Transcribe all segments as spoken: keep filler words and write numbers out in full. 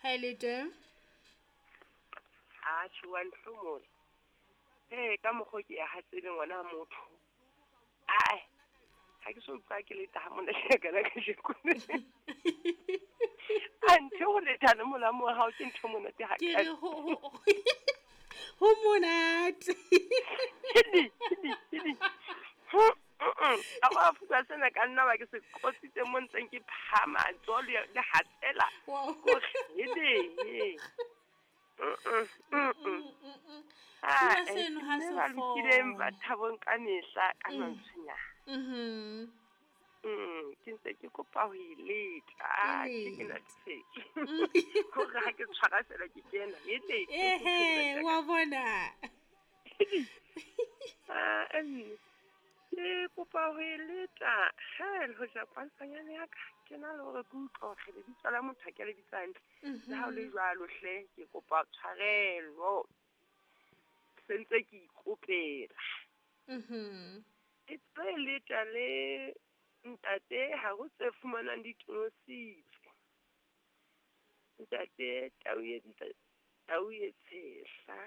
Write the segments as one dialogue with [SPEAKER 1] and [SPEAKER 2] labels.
[SPEAKER 1] Ha e le teng?
[SPEAKER 2] A tjhe wa nhlomola. Ee, ka mokgwa ke ya hatsele ngwana motho. Ae, ha ke so utlwa ke leta ha monate kana kajeko. A ntho ho leta le molamo wa hao ke ntho monate ha
[SPEAKER 1] Ke re ho ho ho monate.
[SPEAKER 2] Hidi, hidi, hidi. Ka wa fuka sena ka nna ba ke se qotsitse mo ntseng ke phahama tso le le hatsela.
[SPEAKER 1] Wow.
[SPEAKER 2] Ko hede. Mm mm.
[SPEAKER 1] Sena
[SPEAKER 2] Ah,
[SPEAKER 1] seno ha
[SPEAKER 2] mme
[SPEAKER 1] se
[SPEAKER 2] ba lokileng ba
[SPEAKER 1] kgone.
[SPEAKER 2] thabong ka mehla ka mantswenyana.
[SPEAKER 1] Mhm.
[SPEAKER 2] Mm, ke ntse ke kopa ho e leta. Ah,
[SPEAKER 1] E
[SPEAKER 2] ke ke na
[SPEAKER 1] lete.
[SPEAKER 2] tshetse. Hore ha ke tshwara fela ke kena. Hele.
[SPEAKER 1] Ehe, wa bona.
[SPEAKER 2] Ah, emme. Ke kopa ho e leta. Ha le hoja kwantshanyane ya ka ke na le hore ke utlwe hore lebitso la motho ha ke le bitsa hantle. Le ha o le jwalo hle ke kopa tshwarelo. Se ntse ke ikopela.
[SPEAKER 1] Mhm.
[SPEAKER 2] E tlo leta le ntate ha ho tse fumanang di tonositse. Ntate tau e nta- tau e tshehla.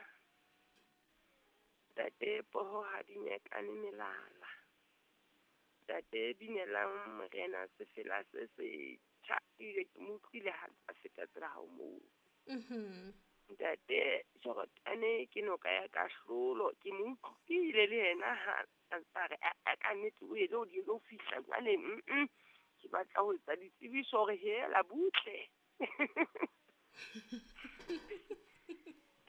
[SPEAKER 2] Ntate poho ha di nyekane melala. Ntate binelang morena sefela se setjha ebile ke mo utlwile ha a feta tsela ha o moo.
[SPEAKER 1] Mhm.
[SPEAKER 2] Ntate Jorotane ke noka ya kahlolo ke mo utlwile le yena ha a ntsa re a a ka nnete o ele o di lo fihla jwale mm ke batla ho etsa ditsebiso hore hela butle.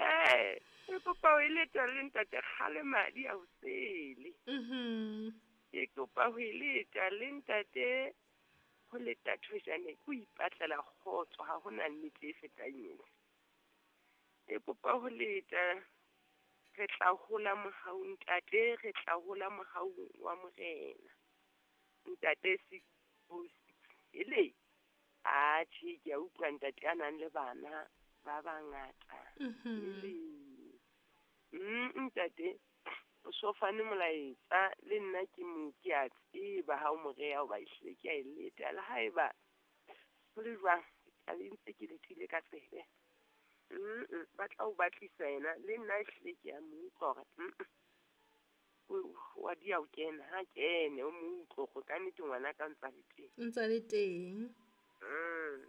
[SPEAKER 2] Eh, ke kopa ho eletsa le ntate kgale madi a hosele.
[SPEAKER 1] Mhm.
[SPEAKER 2] Ke kopa ho eletsa le ntate ho leta thojane ke ho ipatlela kgotso ha hona nnete e fetang ena. Ke kopa ho leta re tla hola mohau ntate, re tla hola mohaung wa morena. Ntate six oh six hele. Atjhe ke a utlwa ntate a nang le bana ba bangata.
[SPEAKER 1] Mhm.
[SPEAKER 2] Hele. Mm ntate o so fane molaetsa le nna ke mo ke a tseba ha o mo reha hoba ehlile ke a e leta le haeba ho le jwang ke tla be ntse ke letile ka tsebe. Mm ba tla o batlisa yena le nna ehlile ke a mo utlwa hore mm o wa dia ho kena ha kene o mo utlwe hore kannete ngwana ka o ntsa le teng.
[SPEAKER 1] Ntsa le teng.
[SPEAKER 2] Mm.